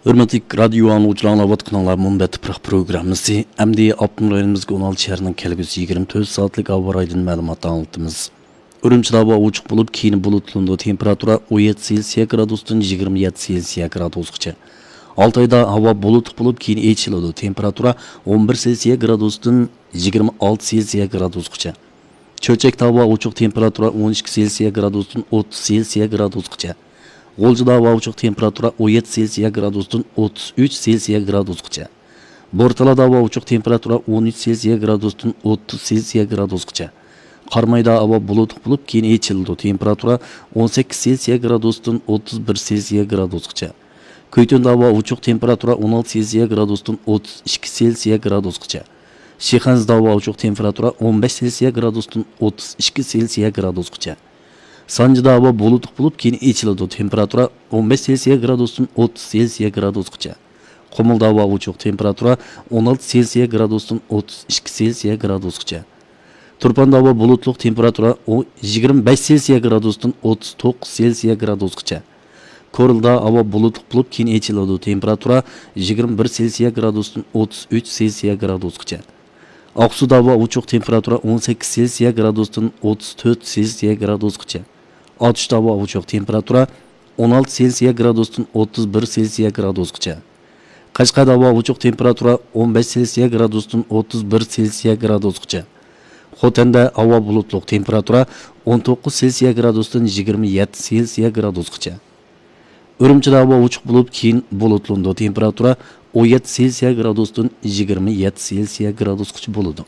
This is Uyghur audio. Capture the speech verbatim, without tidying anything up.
ھۆرمەتلىك رادىيو ئاڭلىغۇچىلار، ئاڭلاۋاتقىنىڭلار مۇنبەت پۇراق پروگراممىسى. ئەمدى ئاپتونوم رايونىمىزغا ئون ئالتە شەھەرنىڭ كەلگۈسى يىگىرمە تۆت سائەتلىك ھاۋا رايىدىن مەلۇمات ئاڭلىتىمىز. ئۈرۈمچىدە ھاۋا ئوچۇق بولۇپ، كېيىن بۇلۇتلىنىدۇ. تېمپېراتۇرا ئون يەتتە سېلسىيە گرادۇستىن يىگىرمە يەتتە سېلسىيە گرادۇسقىچە. ئالتايدا ھاۋا بۇلۇتلۇق بولۇپ، كېيىن ئېچىلىدۇ. تېمپېراتۇرا ئون بىر سېلسىيە گرادۇستىن يىگىرمە ئالتە سېلسىيە گرادۇسقىچە. چۆچەكتە ھاۋا ئوچۇق، تېمپېراتۇرا ئون ئىككى سېلسىيە گرادۇستىن ئوتتۇز سېلسىيە گرادۇسقىچە. غۇلجىدا ھاۋا ئوچۇق، تېمپېراتۇرا ئون يەتتە سېلسىيە گرادۇستىن ئوتتۇز ئۈچ سېلسىيە گرادۇسقىچە. بورتالادا ھاۋا ئوچۇق، تېمپېراتۇرا ئون ئۈچ سېلسىيە گرادۇستىن ئوتتۇز سېلسىيە گرادۇسقىچە. قارامايدا ھاۋا بۇلۇتلۇق بولۇپ، كېيىن ئېچىلىدۇ. تېمپېراتۇرا ئون سەككىز سېلسىيە گرادۇستىن ئوتتۇز بىر سېلسىيە گرادۇسقىچە. كۈيتۈندە ھاۋا ئوچۇق، تېمپېراتۇرا ئون ئالتە سېلسىيە گرادۇستىن ئوتتۇز ئىككى سېلسىيە گرادۇسقىچە. شىخەنزىدە ھاۋا ئوچۇق، تېمپېراتۇرا ئون بەش سېلسىيە گرادۇستىن ئوتتۇز ئىككى سېلسىيە گرادۇسقىچە. سانجىدا ھاۋا بۇلۇتلۇق بولۇپ، كېيىن ئېچىلىدۇ. تېمپېراتۇرا ئون بەش سېلسىيە گرادۇستىن ئوتتۇز سېلسىيە گرادۇسقىچە. قۇمۇلدا ھاۋا ئوچۇق، تېمپېراتۇرا ئون ئالتە سېلسىيە گرادۇستىن ئوتتۇز ئىككى سېلسىيە گرادۇسقىچە. تۇرپاندا ھاۋا بۇلۇتلۇق، تېمپېراتۇرا ئو-، يىگىرمە بەش سېلسىيە گرادۇستىن ئوتتۇز توققۇز سېلسىيە گرادۇسقىچە. كورلىدا ھاۋا بۇلۇتلۇق بولۇپ، كېيىن ئېچىلىدۇ. تېمپېراتۇرا يىگىرمە بىر سېلسىيە گرادۇستىن ئوتتۇز ئۈچ سېلسىيە گرادۇسقىچە. ئاقسۇدا ھاۋا ئوچۇق، تېمپېراتۇرا ئون سەككىز سېلسىيە گرادۇستىن ئوتتۇز تۆت سېلسىيە گرادۇسقىچە. ئاتۇشتا ھاۋا ئوچۇق، تېمپېراتۇرا ئون ئالتە سېلسىيە گرادۇستىن ئوتتۇز بىر سېلسىيە گرادۇسقىچە. قەشقەردە ھاۋا ئوچۇق، تېمپېراتۇرا ئون بەش سېلسىيە گرادۇستىن ئوتتۇز بىر سېلسىيە گرادۇسقىچە. خوتەندە ھاۋا بۇلۇتلۇق، تېمپېراتۇرا ئون توققۇز سېلسىيە گرادۇستىن يىگىرمە يەتتە سېلسىيە گرادۇسقىچە. ئۈرۈمچىدە ھاۋا ئوچۇق بولۇپ، كېيىن بۇلۇتلىنىدۇ. تېمپېراتۇرا ئون يەتتە سېلسىيە گرادۇستىن يىگىرمە يەتتە سېلسىيە گرادۇسقىچە بولىدۇ.